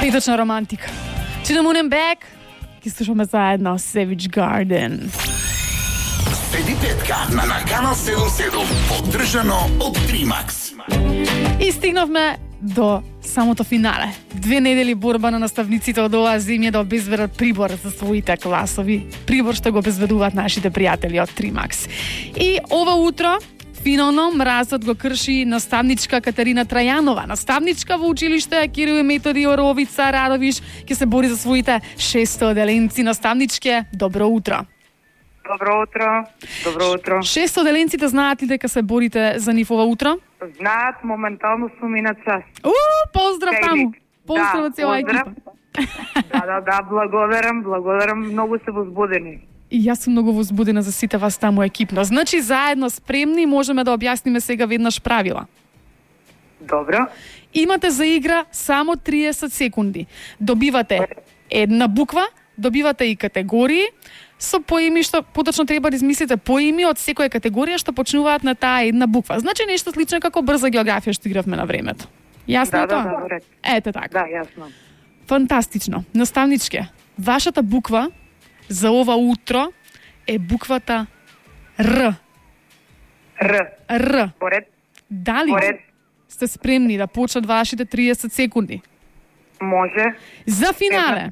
Петочна романтика. To the Moon and Back. Ги слушаме заедно Savage Garden. Седи петка на Канал 77, поддржано од Тримакс. И стигнавме до самото финале. 2 недели борба на наставниците од оваа земја да обезбедат прибор за своите класови. Прибор што го обезбедуваат нашите пријатели од Тримакс. И ова утро финално мразот го крши наставничка Катерина Трајанова. Наставничка во училиште Кирил и Методи Оровица Радовиш ќе се бори за своите 600 деленци. Наставничке, добро утро. Добро утро. Добро утро. 600 деленците знаат ли дека се борите за нив ова утро? Знаат, моментално сум и на час. Поздрав таму. Поздрав од цела екипа. Да, благодарам, многу се возбудени. И јас сум многу возбудена за сите вас таму екипно. Значи, заедно спремни можеме да објасниме сега веднаш правила. Добро. Имате за игра само 30 секунди. Добивате една буква, добивате и категории, со поими што поточно треба да измислите поими од секоја категорија што почнуваат на таа една буква. Значи нешто слично како брза географија што игравме на времето. Јасно тоа? Да, ете така. Да, јасно. Фантастично. Наставничке, вашата буква за ова утро е буквата Р. Р. Поред. Дали Поред. сте спремни да почнат вашите 30 секунди? Може. За финале.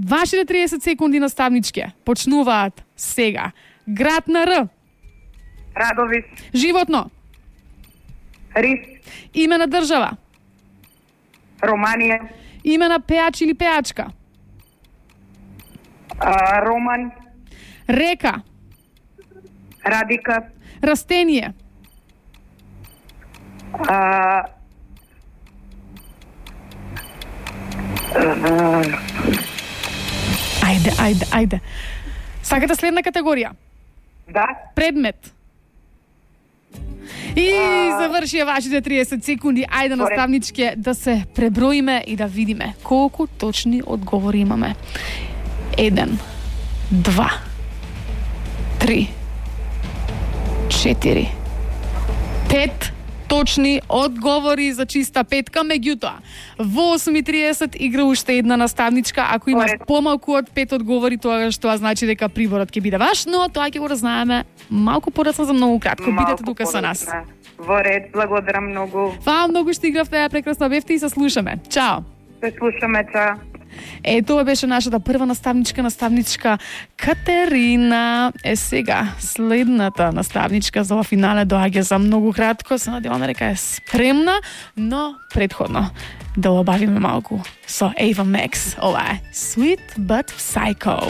Вашите 30 секунди наставничке почнуваат сега. Град на Р. Радовиш. Животно. Рис. Име на држава. Романија. Име на пеач или пеачка. Роман. Река. Радика. Растение. Ајде. Сакате следна категорија? Да. Предмет. И завршија вашите 30 секунди. Ајде, наставничке, да се преброиме и да видиме колку точни одговори имаме. 1, 2, 3, 4, 5 точни одговори за чиста петка. Меѓутоа, во 8:30 игра уште една наставничка. Ако има помалку од 5 одговори, тоа значи дека приборот ќе биде ваш, но тоа ќе го разнаеме малку порано за многу кратко. Бидете тука со нас. Во ред, благодарам многу. Фала многу што игравте, прекрасно бевте и се слушаме. Чао. Се слушаме, чао. Тоа беше нашата прва наставничка Катерина. Сега, следната наставничка за ова финале доаѓа за многу кратко. Се надеваме дека е спремна, но предходно да обавиме малку со Ava Max. Ова е Sweet But Psycho.